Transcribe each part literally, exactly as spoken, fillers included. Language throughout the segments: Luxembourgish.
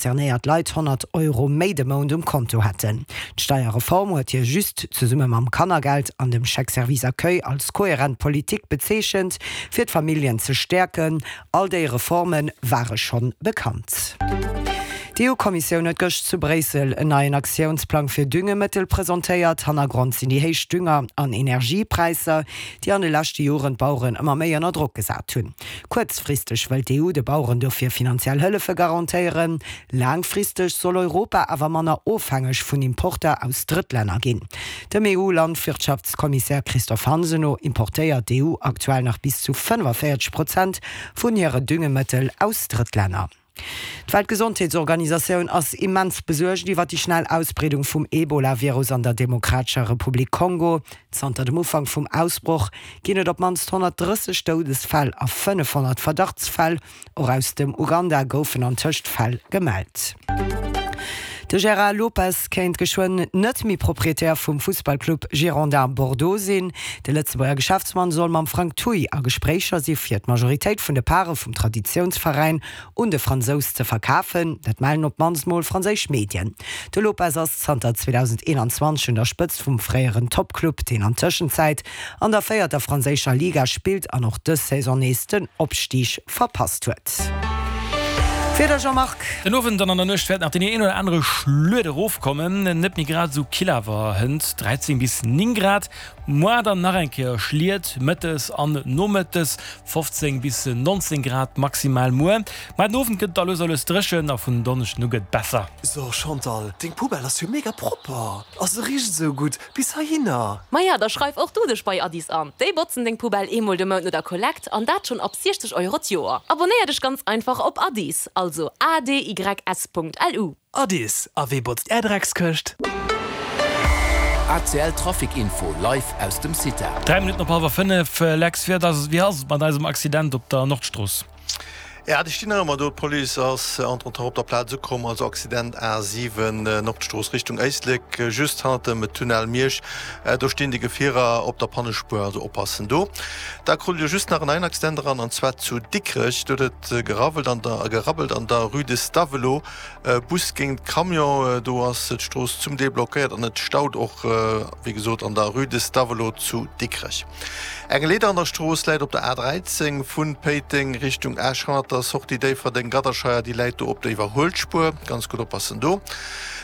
concernéiert Leit honnert Euro méi de Mount um Konto hätten. D'Steierreform huet hie just zesumme mam Kannergeld an dem Chèque Service Accueil als kohärent Politik bezeechent, fir d'Familljen ze stäerken. All déi Reforme ware schonn bekannt. D'EU-Kommissioun huet gëscht zu Bréissel en neien Aktiounsplang fir Düngemëttel presentéiert. Hannergrond sinn déi héich Dünger an Energiepräisser, déi an de leschte Joren d'Baueren ëmmer méi ënner Drock gesat hunn. Kuerzfristeg wëll d'EU de Baueren dofir finanziell Hëllefe garantéieren. Laangfristeg soll Europa awer manner ofhängeg vun Importer aus Drëttlänner ginn. Dem EU-Landwirtschaftskommissär Christophe Hansen no importéiert d'EU aktuell nach bis zu fënnefenvéierzeg Prozent vun hire Düngemëttel aus Drëttlänner. D'Weltgesondheetsorganisatioun ass immens besuergt iwwer déi schnell Ausbreedung vum Ebola-Virus an der Demokratescher Republik Kongo. Zanter dem Ufank vum Ausbroch ginn et op d'mannst honnertdrësseg Doudesfäll a fënnefhonnert Verdachtsfäll. Och aus dem Uganda goufen antëscht Fäll gemellt. De Gérard Lopez kéint geschwënn net méi Proprietär vum Fussballclub Girondins Bordeaux sinn. De Lëtzebuerger Geschäftsmann soll mam Frank Thuy a Gespréicher si fir d'Majoritéit vun de Pare vum Traditiounsveräin un de Fransous ze verkafen. Dat mellen op d'mannst mol franséisch Medien. De Lopez ass zanter zweedausendeenanzwanzeg un der Spëtzt vum fréieren Toppclub, deen an Tëschenzäit an der véierter franséischer Liga spillt an och dës Saison nees den Opstig verpasst huet. Wieder Jean-Marc. Den Owend an an der Nuecht wäert nach deen een oder anere Schluet erofkommen, net méi grad esou kill awer hënt dräizéng bis néng Grad. Moar dann nach eng Kéier Schliet mëttes an nomëttes, fofzéng bis nonzéng Grad maximal muer. Mä den Owend gëtt et da lues a lues dréchen a vun Donneschden u gëtt et besser. So Chantal, deng Poubelle ass jo mega propper a se richt esou gutt bis heihinner. Maja, da schreif och du dech bei Adys an. Déi botzen deng Poubelle eemol de Mount no der Kollekt an dat schonn ab siechzeg Euro d'Joer. Abonéier dech ganz einfach op Adys, also A D Y S Punkt L U. Adys, a wee botzt är Dreckskëscht? A C L Trafic Info live aus dem Cita. Dräi Minutten op hallwer fënnef, Lex, wéi ass et mat eisem Accident op der Nordstrooss? Ja, déi stinn nach ëmmer do. D'Police ass entretemps op der Plaz ukomm. Also Accident A siwen, Nordstrooss Richtung Éislek, just hannert dem Tunnel Miersch. Do stinn déi Gefierer op der Pannespuer, also oppassen do. Da krut Dir just nach en neien Accident eran, an zwar zu Dikrech. Do huet et gerawwelt an der, gerabbelt an der Rue de Stavelot. Bus géint Camion, do ass d'Strooss zum Deel blockéiert an et staut och, wéi gesot, an der Rue de Stavelot zu Dikrech. Eng Leeder an der Strooss läit op der A dräizéng vu Péiteng Richtung Esch hannert der Sortie Déifferdeng-Gadderscheier. Déi läit do op der Iwwerhuelspuer. Ganz gutt oppassen do.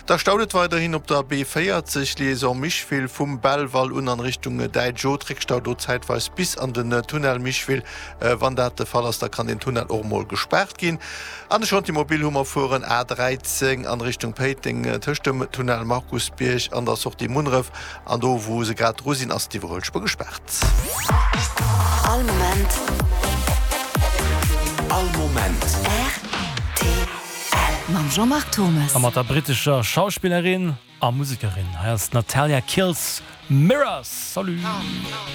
Da staut et weiderhin op der B véierzeg Liaison Micheville vum Belval un an Richtung Däitsch Haut. Réckstau do zäitweis bis an den Tunnel Micheville. Wann dat de Fall ass, da kann deen Tunnel och emol gespaart ginn. An de Chantier mobile hu mer fueren A dräizéng an Richtung Péiteng tëscht dem Tunnel Markusbierg an der Sortie Munneref. An do wou se grad dru sinn, ass d'Iwwerhuelspuer gespaart. All Moment. All Moment. R T L. Mam Jean-Marc Thommes. A mat der brittescher Schauspillerin a Musekerin. Hei ass d'Natalia Kills, Mirrors. Salut.